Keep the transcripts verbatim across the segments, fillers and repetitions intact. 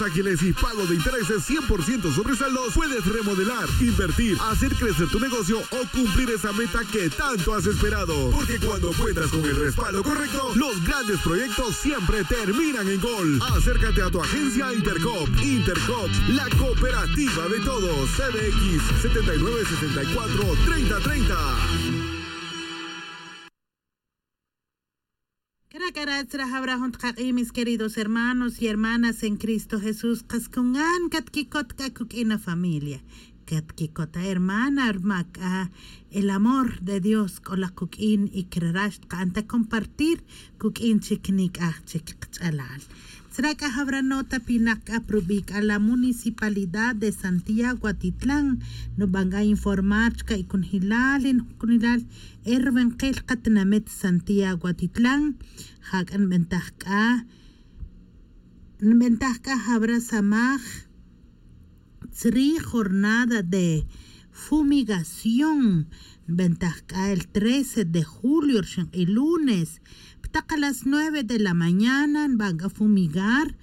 ágiles y pago de intereses cien por ciento sobre saldos, puedes remodelar, invertir, hacer crecer tu negocio o cumplir esa meta que tanto has esperado. Porque cuando cuentas con el respaldo correcto, los grandes proyectos siempre terminan en gol. Acércate a tu agencia Intercop. Intercop, la cooperativa de todos. C B X setenta y nueve sesenta y cuatro treinta treinta. Caracara tzra jawra jun tkak'i, mis queridos hermanos y hermanas en Cristo Jesús. Qas con gan catquicot c'a cuq'uin a familia, catquicot a hermana, rma c'a el amor de Dios c'o la cuq'uin. Y crara' xtka'an ta compartir cuq'uin chic nic'aj chic kach'alal. Tzra c'a jawra nota pinak c'a prubi' c'a la municipalidad de Santiago Atitlán, nuban c'a informar chica y cunjilal y nujcunjilal erwenkel katinamit Santiago Atitlán. Ja c'a nbentaj c'a nbentaj c'a jawra samaj tzri jornada de fumigación. Nbentaj c'a el trece de julio rxin k'i lunes, ptak a las nueve de la mañana nban c'a fumigar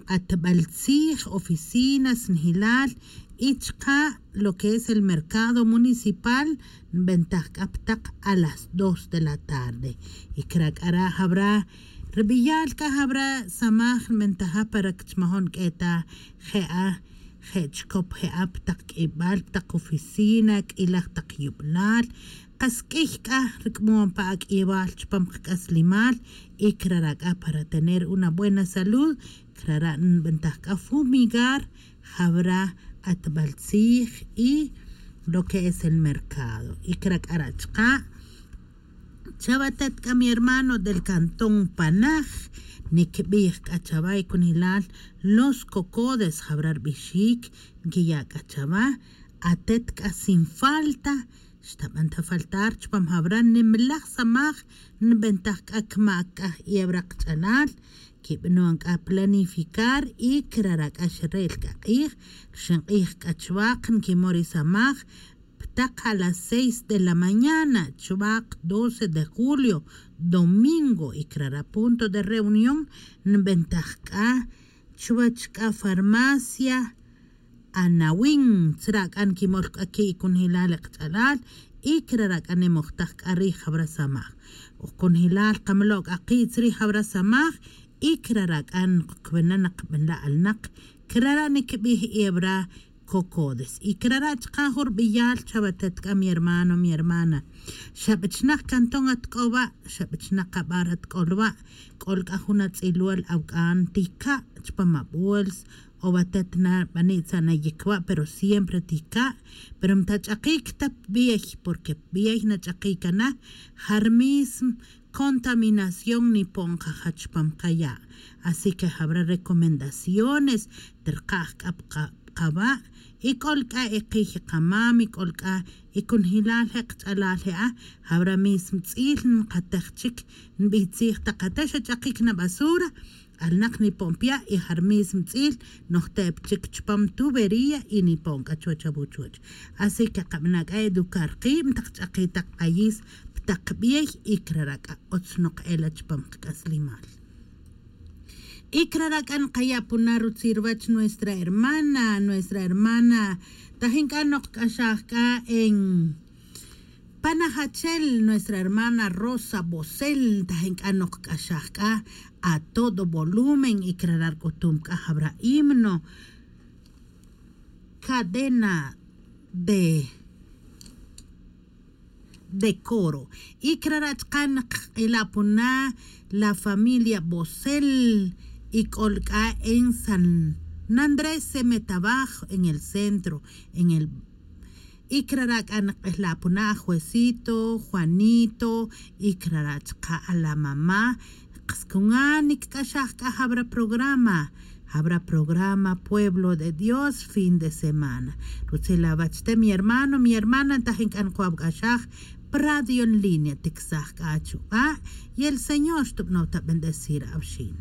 q'atbal tzij, oficinas, njilal y chka' lo que es el mercado municipal. Nbentaj c'a ptak a las dos de la tarde. Y cra' c'a ra' jawra rbiyal c'a jawra samaj nbentaja para que chmajon q'ue ta je'a je' chicop je'a pa tak c'ibal pa tak oficina, c'ilaj tak yublal. Kas q'uiy c'a ric'mon pa ac'ibal chupam kac'aslimal. Y crara' c'a para tener una buena salud, crara' nbentaj c'a fumigar jawra atbal tzij y lo que es el mercado. Y cra' c'a ra' chka' chawa atet c'a mi hermano del cantón Panaj, nicbij c'a chawa y cunilal los cocodes jawra rbixic, nquiya' c'a chawa atet c'a sin falta. Xtaban ta faltar chupam jawra nimlaj samaj nbentaj c'a cmac c'a j'iewra kach'alal. Quibanon c'a planificar y crara' c'a xre'l c'a k'ij rxin k'ij c'a chwak nquimon ri samaj pa tak a las seis de la mañana chwak doce de julio, domingo, y crara' punto de reunión nbentaj c'a chwach c'a farmacia Anawin. Tzra' c'a nquimol c'a qui' cunjilal e kach'alal y crara' c'a nimojtaj c'a rij jawra samaj. Oj cunjilal kamlo' c'a ki' tzrij jawra samaj y crara' c'a nqcwena naqbinla' alnaq. Crara' nicbij ewra cocodes y crara' chka' jun rbiyal chawa atet c'a mi hermano mi hermana. Xa bechnak cantón at c'o wa', xa bechnak abar at c'o lwa'. C'ol c'a jun atz'ilwal awc'an tica' chupam abols o wa atet na bani' tza'na yicwa' pero siempre tica'. Pero mtach'akic ta pbiey, porque pbiey nach'akic ana jarmism contaminación nipon kaja chupam kaya'. Así que jawra recomendaciones trkaj c'a pa kawa'. Y c'ol c'a e kiy kamam y c'ol c'a e cunjilal je' kach'alal je'a, jawra mism tz'il nkatej chic nbitzij tak ate xa ch'akic na basura. Alnak nipon pya' y jarmism tz'il nojte'p chic chupam tubería y nipon c'a chuwech awuchuwech. Así que kabana' c'a educar kiib ntak ch'aki tak k'ayis pa tak bey y crara' c'a otz nok ela chupam kac'aslimal. Y crara' c'a nkaya' puna rutzil ruwech nuestra hermana nuestra hermana tajin c'a nok kc'axaj c'a en panajachel nuestra hermana Rosa Bosel tajin c'a nok kc'axaj c'a a todo volumen y crara' rc'utum c'a jawra himno cadena de de coro. Y crara' chka' nkq'ila' puna la familia Bosel y c'ol c'a en San Andrés Semetabaj en el centro en el y crara' c'a nkq'ila' puna a Juecito, Juanito y crara' chka' a la mamá. Kas cuna nicc'axaj c'a jawra programa jawra programa Pueblo de Dios fin de semana. Rutzil awach te mi hermano mi hermana ntajin c'a nkuwawc'axaj pa radio en línea ticsaj c'a achuk'a' y el señor xtubanow ta bendecir awxin.